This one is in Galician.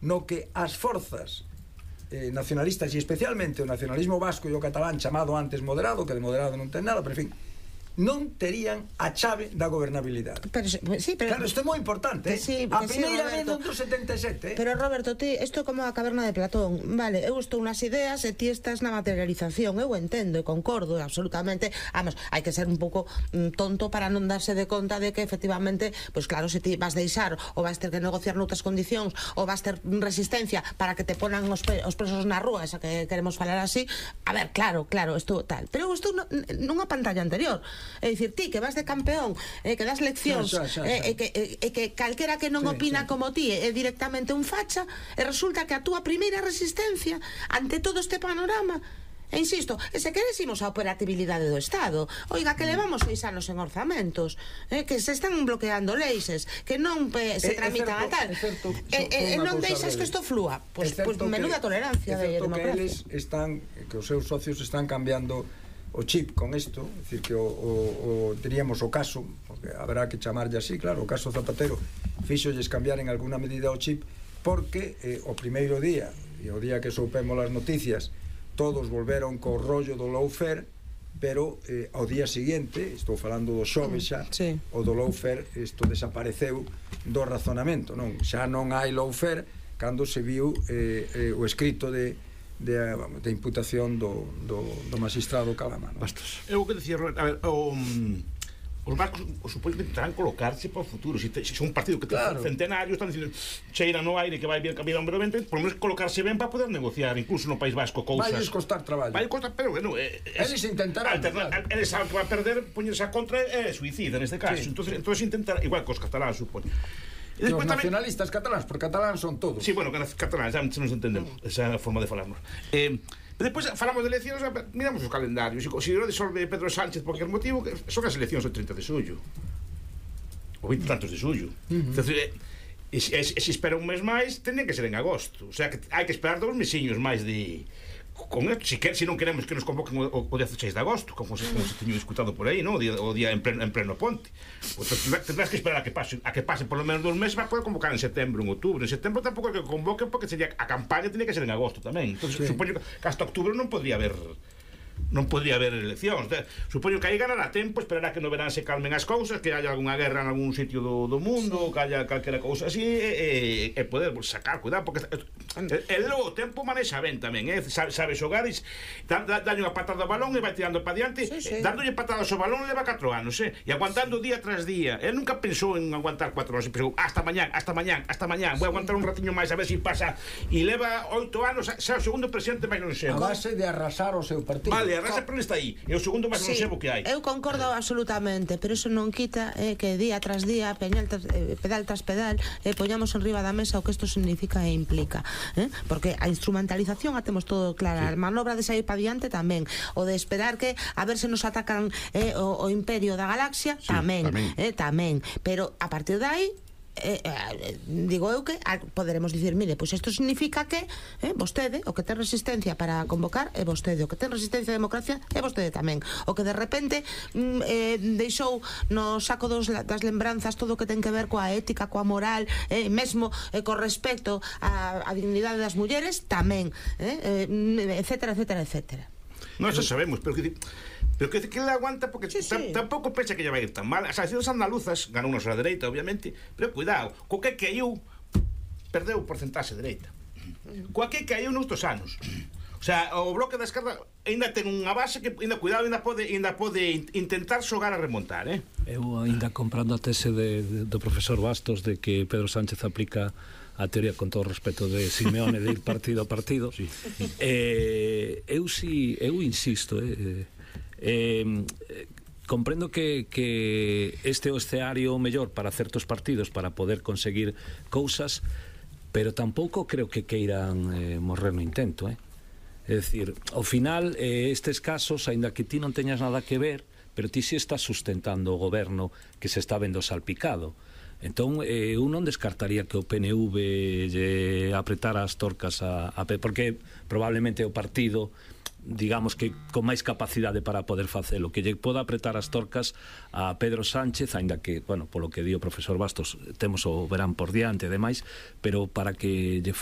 no que as forzas nacionalistas, e especialmente o nacionalismo vasco e o catalán chamado antes moderado, que de moderado non ten nada, pero en fin, non terían a chave da gobernabilidade. Claro, isto é moi importante, a primeira vez do 77. Pero Roberto, isto é como a caverna de Platón. Vale, eu estou nas ideas e ti estás na materialización. Eu entendo e concordo absolutamente. Vamos, hai que ser un pouco tonto para non darse de conta de que efectivamente, pois claro, se ti vas deixar ou vas ter que negociar noutras condicións ou vas ter resistencia para que te ponan os presos na rúa, esa que queremos falar así, a ver, claro, isto tal. Pero eu estou nunha pantalla anterior. É dicir, ti que vas de campeón, que das leccións, que calquera que non opina como ti é directamente un facha, e resulta que a túa primeira resistencia ante todo este panorama, e insisto, se querésemos a operatividade do Estado, oiga, que levamos 6 anos en orzamentos, que se están bloqueando leis, que non se tramitan a tal, e non deixas que isto flúa. Pois menuda tolerancia de democracia. É certo que os seus socios están cambiando o chip con isto, é dicir que teríamos o caso, porque haberá que chamarlle así, claro, o caso Zapatero fíxolles cambiar en alguna medida o chip, porque o primeiro día e o día que soupemos as noticias todos volveron co rollo do lawfare, pero ao día seguinte, estou falando do xove xa, o do lawfare isto desapareceu do razonamento, non? Xa non hai lawfare cando se viu o escrito de imputación do magistrado Calamano. Bastos. Eu que decía, a ver, os vascos supoño que intentarán colocarse para o futuro. Se un partido que ten centenario, están dicindo cheira no aire que vai vir cambiar brevemente, por lo menos colocarse ben para poder negociar, incluso no País Vasco, cousas. Vai costar traballo. Vai costar, pero bueno, eles intentarán. Eles saben que vai perder, poñerse a contra é suicida neste caso. Entonces intentar, igual que os cataláns, supoño. E os nacionalistas cataláns, porque cataláns son todos. Sí, bueno, cataláns, xa nos entendemos, esa é a forma de falarnos. Depois falamos de eleccións, miramos os calendarios. Se non disolve Pedro Sánchez por qualquer motivo, son as eleccións o 30 de xullo o 20 tantos de xullo. E se espera un mes máis, tendrían que ser en agosto. O sea, que hai que esperar 2 mesiños máis de... con esto, se non queremos que nos convoquen o 16 de agosto, como se teño discutado por aí, ¿no? O día en pleno ponte. Tendrás que esperar a que pase por lo menos 2 meses para poder convocar en setembro, en outubro. En setembro tampouco é que convoquen, porque sería a campaña tiene que ser en agosto tamén. Entonces, supoño que hasta octubre non podría haber eleccións. Supoño que aí ganará tempo, esperará que no verán se calmen as cousas, que haya algunha guerra en algún sitio do mundo, que haya calquera cousa así, e poder sacar, cuidado, porque o tempo manexa ben tamén, sabe xogar, dalle unha patada ao balón e vai tirando para diante, dándolle patadas ao balón leva 4 anos, e aguantando día tras día. Ele nunca pensou en aguantar 4 anos, pensou, hasta mañán, vou aguantar un ratiño máis a ver se pasa, e leva 8 anos, xa o segundo presidente máis non sei. A base de arrasar o seu partido. Vale, arrasa, pero está aí. É o segundo máis non sebo que hai. Eu concordo absolutamente, pero eso non quita que día tras día, pedal tras pedal, poñamos en riba da mesa o que isto significa e implica. Porque a instrumentalización a temos todo clara, a manobra de sair para diante tamén, o de esperar que a ver se nos atacan o imperio da galaxia, tamén. Pero a partir de aí digo eu que poderemos dicir, mire, pois isto significa que vostede, o que ten resistencia para convocar é vostede, o que ten resistencia a democracia é vostede tamén, o que de repente deixou no saco das lembranzas todo o que ten que ver coa ética, coa moral, mesmo co respecto á dignidade das mulleres tamén, etcétera. Non xa sabemos, pero que le aguanta, porque tampouco pensa que lle vai ir tan mal. As eleccións andaluzas ganou a dereita, obviamente, pero cuidado, co que caiu perdeu o porcentaxe dereita, coa que caiu noutros anos. O sea, o bloque da esquerda ainda ten unha base que, cuidado, ainda pode intentar xogar a remontar, Eu ainda comprando a tese do profesor Bastos de que Pedro Sánchez aplica a teoría, con todo o respeto, de Simeone, de ir partido a partido. Eu insisto, comprendo que este é o escenario mellor para certos partidos para poder conseguir cousas, pero tampouco creo que queiran morrer no intento, É dicir, ao final estes casos, aínda que ti non teñas nada que ver, pero ti si estás sustentando o goberno que se está vendo salpicado. Entón, eu non descartaría que o PNV lle apretara as torcas porque probablemente o partido digamos que con máis capacidade para poder facelo, que lle poda apretar as torcas a Pedro Sánchez, aínda que, bueno, polo que di o profesor Bastos, temos o verán por diante e demais, pero para que lle